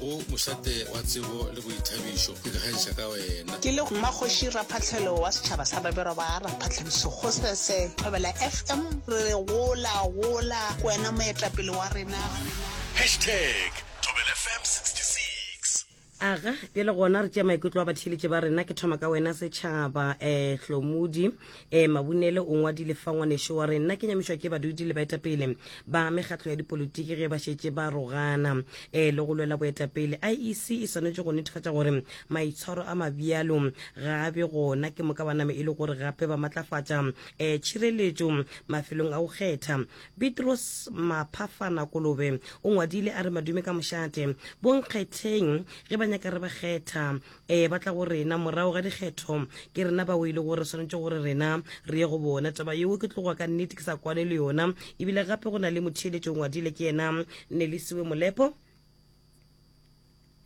Go mošate wa tsebo le boithabišo, ke ikgantšha ka wena. Ke le Mmakgoši Raphahlelo wa setšhaba sa Babirwa ba Raphahlelo Sekgosese, Thobela FM re re gola gola ke wena moetapele wa rena. Hashtag Thobela FM 66. Aga, bjale gona re tšea maikutlo a batheeletši ba rena. Ke thoma ka wena setšhaba. Eh, Hlomudi eh, Mabunele o ngwadile fa ngwanešo wa re nna ke nyamišwa ke badudi le baetapele ba mekgatlo ya dipolitiki ge ba šetše ba rogana eh, le go lwela boetapele. IEC e swanetše go netefatša gore maitshwaro a mabjalo ga a be gona ke moka ba name e le gore gape ba matlafatša eh, tšhireletšo mafelong a go kgetha. Petros Maphafana Kolobe o ngwadile a re madume ka mošate bonkgetheng ge ba nyaka re ba kgetha ee ba tla go rena morago ga dikgetho ke rena bao e le gore swanetše gore rena re ye go bona taba yeo ke tloga ka nnete ke sa kwane le yona ebile gape go na le motheeletši o ngwadile ke yena Nelisiwe Molepo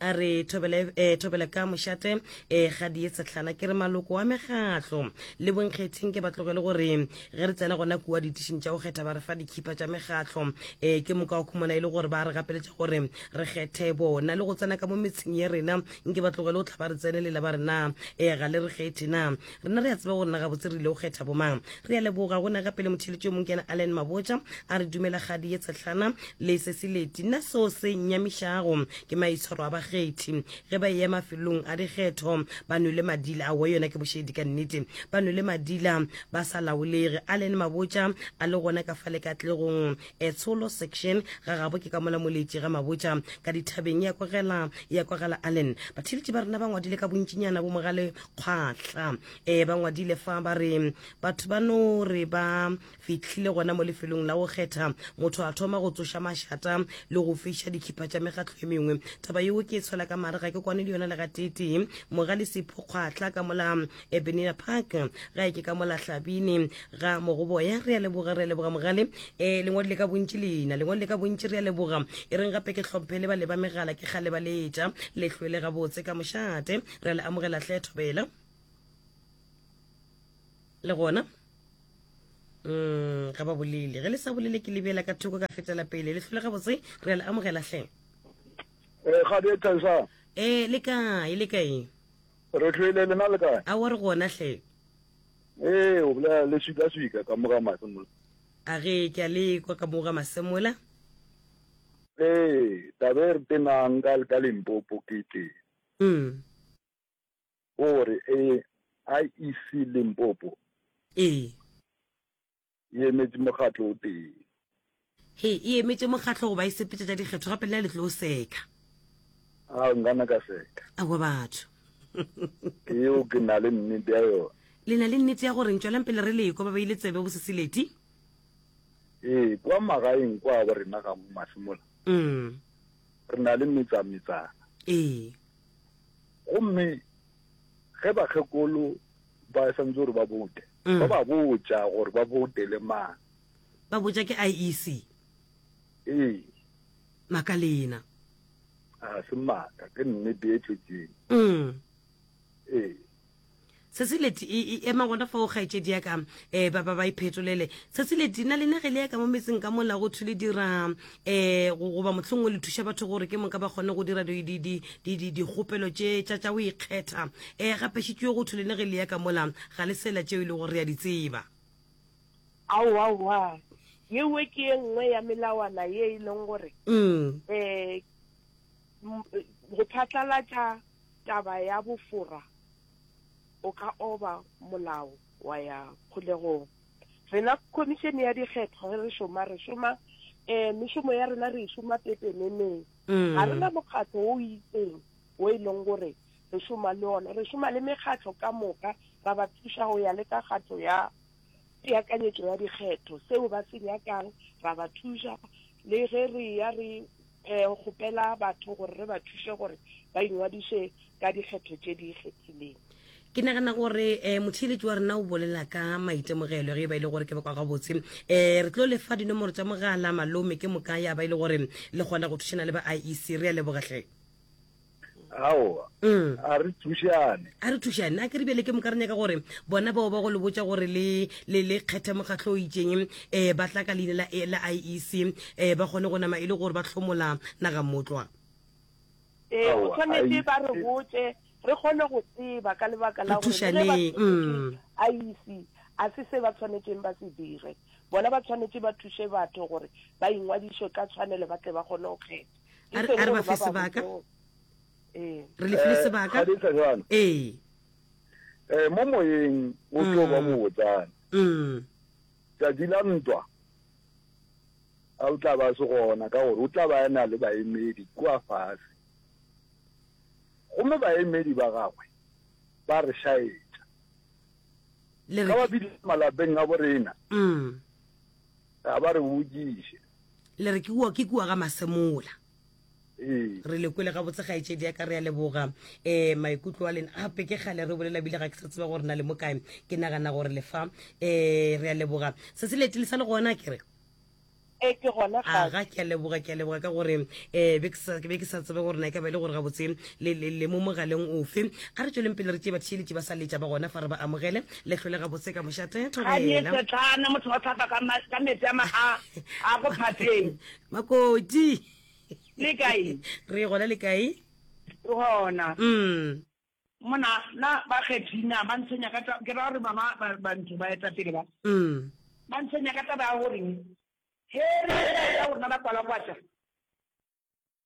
A re thobele, eh, thobele ka mošate eh, ga die sehlana ke re maloko a mekgatlo le bonkgetheng ke ba tlogele gore ge re tsena gona kua ditišing tša go kgetha ba re fa dikhipa tša mekgatlo eh, ke moka o khumana e le gore ba re gapeletša gore re kgethe bona le go tsena ka mo metseng ya rena nke ba tlogele go tla ba re tsenelela ba re na eh, ga le re kgethe na rena re a tseba gore na gabotse re ile go kgetha bomang re a leboga go na gape le motheletši yo mongwe ke yena allen mabotja a re dumela kgadi ye tshehlana le sesileti nna seo se nnyamišago ke maitshwaro a bakgethi ge ba eya mafelong a dikgetho ba nwele madila aowa yona ke bošedi ka nnete ba nwele madila ba sa laolege allen mabotja a le gona ka fale katlegong etsholo section ga gabo ke ka mola moletši ga mabotja ka dithabeng ya kwagela ya kwagala allen batheletši ba rena ba ngwadile ka bontšinyana bo mogale kgwahla e ba ngwadile fa ba re batho ba no re ba fihlile gona mo lefelong la go kgetha motho a thoma go tsoša mašata le go fiša dikhipa tša mekgatlo e mengwe taba yeo ke e tshwela ka mare ga ke kwane le yona le gateetee mogale sepho kgwahla ka mola ebenina park ga e ke ka mola hlabine ga mogoboya re a leboga re a leboga mogale um lengwadi le ka bontši leina lengwadi le ka bontši re a leboga e reng gape ke hlomphe le ba le ba megala ke kgale ba letša lehlwele gabotse ka mošate re a le amogela hle thobela le gona mm ga ba bolele ge le sa bolele ke lebela ka thoko ka fetela pele le hlole gabotse re a le amogela hle Eh, ga di thaisa. Eh, le kae le kae Re hlwele lena le kae? Aowa re gona hle. Ee, o bolela le swika swika ka mo ga Masemola. A ge ke a le kwa ka mo ga Masemola. Ee, taba e re tenang ka ka Limpopo ke tee. Mm. Gore e IEC Limpopo. Ee. E emetše mokgatlo o tee. He, e emetše mokgatlo goba e sepetša tša dikgetho gape le na le tlo seka. A nkana ka seka. Aowa batho. Ke yeo ke na le nnete ya yona. Le na le nnete ya goreng? Tšwelang pele re lekwa ba beile tsebe boSesileti. Ee, kwa magaeng kwa bo rena ga Masemola. Mm. Re na le metsametsana. Ee. Gomme ge bakgekolo ba santse gore ba bote mm. ba ba botša gore ba bote le mang ba botša ke iec ee makalena a se maaka ke nnete e tletseng mm. ee sesileti e, e ema gona fao kgaetšedi ya ka um ba ba ba iphetolele sesileti na lena ge le ya ka mo metseng ka mola go thwe le dira um goba mohlongwe le thuša batho gore ke moka ba kgone go dira dikgopelo tše tša tša go ikgetha um gape šitšwe go thwe lena ge le ya ka mola ga le sela tšeo e le gore re a di tseba Aowaowa, yewe ke ye nngwe ya melawana ye e leng gore um go phatlalatša taba ya bofora o ka oba molao wa ya kgolegong. Rena Khomišene ya Dikgetho ge re šoma, re šoma um mešomo ya rena re e šoma pepeneneng. Ga re na mokgatlo wo o itseng wo e leng gore re šoma le ona. Re šoma le mekgatlo ka moka, ra ba thuša go ya le ka kgato ya peakanyetšo ya dikgetho, seo ba se nyakang ra ba thuša. Le ge re eya re um kgopela batho gore re ba thuše gore ba ingwadiše ka dikgetho tše di ikgethileng. Ke nagana gore um motheeletši wa rena o bolela ka maitemogelo ge e ba e le gore ke ba kwa gabotse. Um re tlo le fa dinomoro tša mogala malome ke moka ya ba e le gore le kgona go thušana le ba IEC. Re a leboga hle. Aowa, Mm. a re thušane. A re thušane. A ke re bjale ke moka re nyaka gore bona bao ba go le botša gore le le le kgethe mokgatlo o itšeng um ba tla ka leina la la IEC um ba kgone go nama e le gore ba hlomola naga motlwa. Ee, go tshwanetše ba re botše re kgone go tseba ka lebaka la gore le ge ba tlogetše IEC a se se ba tshwanetšeng ba se dire. Bona ba tshwanetše ba thuše batho gore ba ingwadišwe ka tshwanelo ba tle ba kgone go kgetha. E seng gore ba ba botše gore ee. Re le file sebaka. Ee. Eh, mo moyeng o tlo ba mobotsana. Tšatši la ntwa a o tla ba se gona ka gore o tla ba a na le baemedi kua fase. Gomme baemedi ba gagwe ba re šaetša. Ga ba fihla malapeng a borena, ga ba re botšiše. Le re ke kua, ke kua ga Masemola. Ee. Re le kwele gabotse kgaetšedi ya ka, re a leboga. Um maikutlo a lena gape ke kgale re bolela bile ga ke sa tseba gore na le mo kae. Ke nagana gore le fa. Um re a leboga. Se se leti le sa le gona ke re? E ke gona ga. Aga ke a leboga, ke a leboga ka gore um be ke sa be ke sa tsebe gore na e ka ba e le gore gabotse le le le mo mogaleng ofe. A re tšweleng pele re tšee batheeletši ba sa letša ba gona fa re ba amogele. Le hlole gabotse ka mošate Ga di thobela. setlana motho wa tlhapa ka ma- ka metsi a ma a a go phatleng. Makoti. Le kae? Re gona le kae? Re gona. Mm. Mona na bakgethi na ba ntshwenya ka taba ke ra gore mama ba ba ntho ba etapele ba. Mm. Ba ntshwenya ka taba ya gore he re ya rona ba kwalakwatša.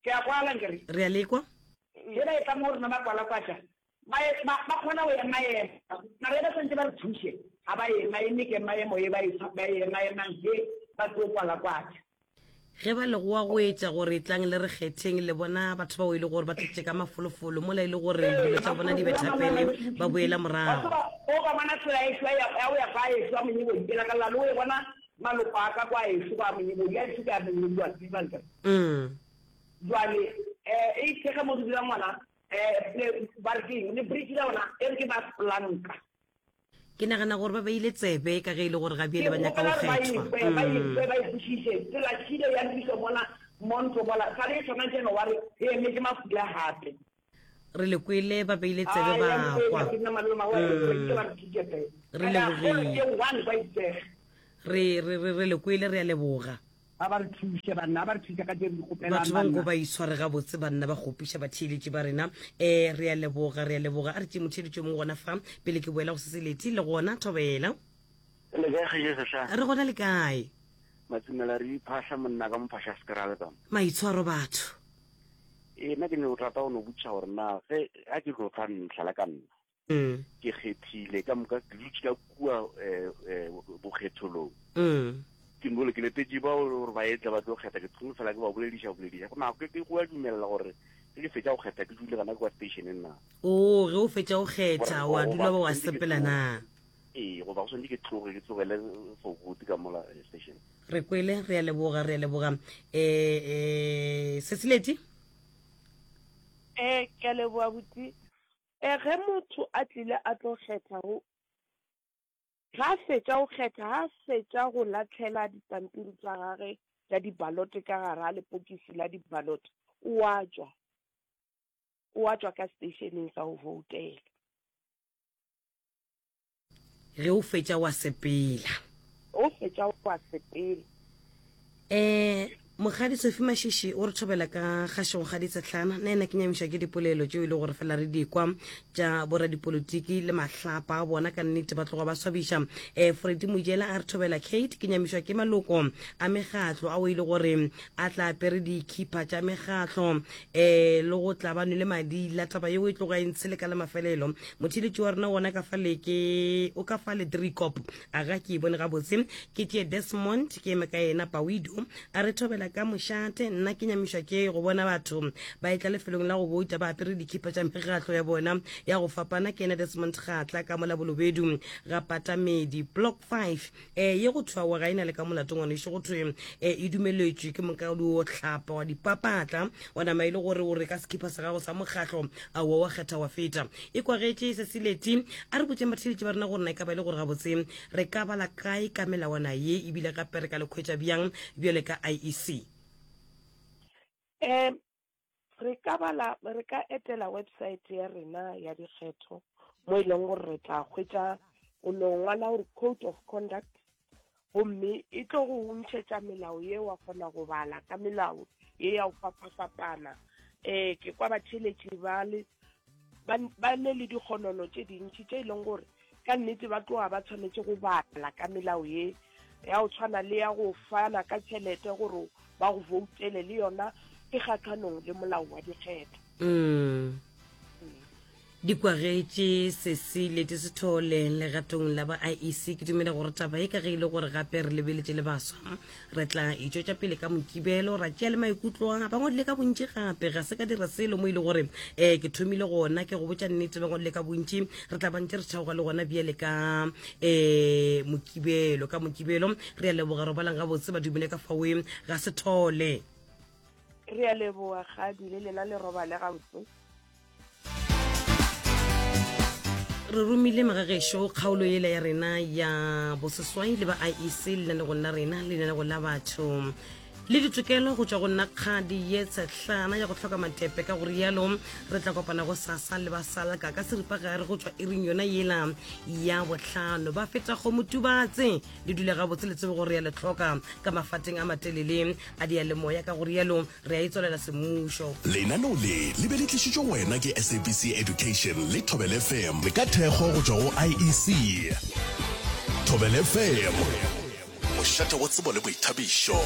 Ke a kwala nkere. Re a lekwa. He ba etla mo rona ba kwalakwatša. Ba ba ba kgona go ema ema. Mara ba santse ba re thuše ga ba ema eme ke maemo e ba e ba ema emang he ba tlo kwalakwatša. Ge ba le goa go etša gore tlang le re kgetheng, le bona batho bao e le gore ba tletše ka mafolofolo, mola e le gore dilo tša bona di betha pele, ba boela morago. Wa tseba, o ka bona tsela ešo ya go ya kwa ešo ya Monyebodi, ke lakalla le go e bona maloko a ka kwa ešo kwa Monyebodi, ya ešo ke ya Monyebodi wa tseba nkere. Jwale, e ithekge mo re dulang gona, ba re ke eng, le bridge la gona e re ke ba planka. Ke nagana gore ba beile tsebe ka ge e le gore ga bjale Ke ba nyaka go kgopela gore ba kgethwa. ekwe, ba ekwe, ba e kwešiše. Tsela tšhile ya lokišwa mola Monto mola, sale e tshwana January, re emetše mafula gape. Re le kwele, ba beile tsebe Ai, ba ya mokwe, kwa. ke nna malome wa mm. ke ba re thutše fe. Re Ene a kgolo lebogile. ke one kwa itsege. Re, re, re, re le kwele, re a leboga. A ba re thuše banna, a ba re thuše ka tše re di kgopelang Batho ba nko banna. ba itshware gabotse banna ba kgopiša batheeletši ba rena. Um re a leboga, re a leboga. A re tšee motheeletši yo mongwe gona fa pele ke boela go Seseleti le gona Thobela. Le kae kgaetšedi Sehla? Re gona le kae? Matsimela re iphahla monna ka mophahla sekerale ka mo. Maitshwaro batho. Ee, nna ke ne go rata go no botšiša gore na ge a ke tlo tla ntlhala ka nna ke kgethile ka moka ke dutše ka kua eh, eh, bokgetholong mm. ke nole ke letetše ba gore ba etle ba tlo kgetha ke thome fela ke ba bolediša bolediša go nako ke go a dumelela gore ge ke fetša go kgetha ke dule gana kwa stationeng na o ge o fetša go kgetha wa dula ba wa sepela na ee goba go swanetše ke tloge ke tlogele for good ka mola eh, station re kwele re a leboga re a leboga um um sesileti um ke a leboga buti E, ge motho a tlile a tlo kgetha go, ge a fetša go kgetha, ge a fetša go lahlela dipampiri tša gage tša dibalote ka gare ga lepokisi la dibalote, o a tšwa, o a tšwa ka seteišeneng sa go voutela. Ge o fetša wa sepela. O fetša wa sepela. Um Mokgadi Sophie Mashishi o re thobela ka kgašong Kgadi Tshetlana. Nna ena ke nyamišwa ke dipolelo tšeo e le gore fela re di kwa tša boradipolotiki le mahlapa a bona, ka nnete ba tloga ba swabiša. Um Freddy Mojela a re thobela Kate, ke nyamišwa ke maloko a mekgatlo ao e le gore a tla apere dikhipha tša mekgatlo um le go tla ba nwele madila. Taba yeo e tloga e ntshele ka la mafelelo. Motheeletši wa rena wona ka fale ke o ka fale Driekop. A ga ke e bone gabotse. Ke tšee Desmond ke eme ka yena Pawido a re thobela ka mošate. Nna ke nyamišwa ke go bona batho ba etla lefelong la go bouta ba apere dikhipa tša mekgatlo ya bona ya go fapana. Ke yena Desmond Kgatla ka mola Bolobedu ga Patamedi Block 5. E, ye go thwe aowa ga e na le ka molato ngwanešu, go thwe e, e dumeletšwe ke moka o hlapa wa dipapatla wa nama e le gore o re ka sekhipha sa gago sa mokgahlo aowa wa kgetha wa feta. E kwagetše se seleti. A re botšeng batheeletši ba rena gore na e ka ba e le gore gabotse re ka bala kae ka melawana ye ebile gape re ka le khwetša bjang bjale ka IEC. Um Re ka bala, re ka etela website ya rena ya dikgetho mo e leng gore re tla hwetša o no ngwala gore code of conduct gomme e tlo go ntšhetša melao ye wa kgona go bala ka melao ye ya go fapafapana. Um ke kwa batheeletši ba le ba, ba ne le dikgonono tše dintši tše e leng gore ka nnete ba tloga ba tshwanetše go bala ka melao ye ya go tshwana le ya go fana ka tšhelete gore ba go voutele le yona e kgahlanong le molao wa dikgetho. Mm. Di kwagetše Cecilia di Sithole legatong la ba IEC. Ke dumela gore taba e ka ge e le gore gape re lebeletše le baswa, re tla itšwetša pele ka Mokibelo ra tšea le maikutlo a ba ngwadile ka bontši gape. Ga se ka dira selo mo e le gore um ke thomile gona ke go botša nnete, ba ngwadile ka bontši. Re tla ba ntše re theoga le gona bjale ka um Mokibelo. Ka Mokibelo re a leboga, robalang gabotse ba dumele ka faoe ga Sithole. Re a leboga Kgadi le lena le robale gabotse. Re romile magagešo kgaolo yela ya rena ya boseswai le ba IEC lenanegong la rena lenanego la batho le ditokelo go tšwa go nna kgadi ye tshehlana ya go hloka matepe. Ka go rialo re tla kopana go sasa le ba salka ka seripagare go tšwa iring yona yela ya bohlano. Ba feta kgomo tubatse le dule gabotse le tsebe gore ya le hloka ka mafateng a matelele a diyalemoya. Ka go rialo Re a e tswalela semmušo. Lenaneo le le be le tlišitšwe go wena ke SABC Education le Thobela FM ka thekgo go tšwa go IEC. Thobela FM, mošate wa tsebo le boithabišo.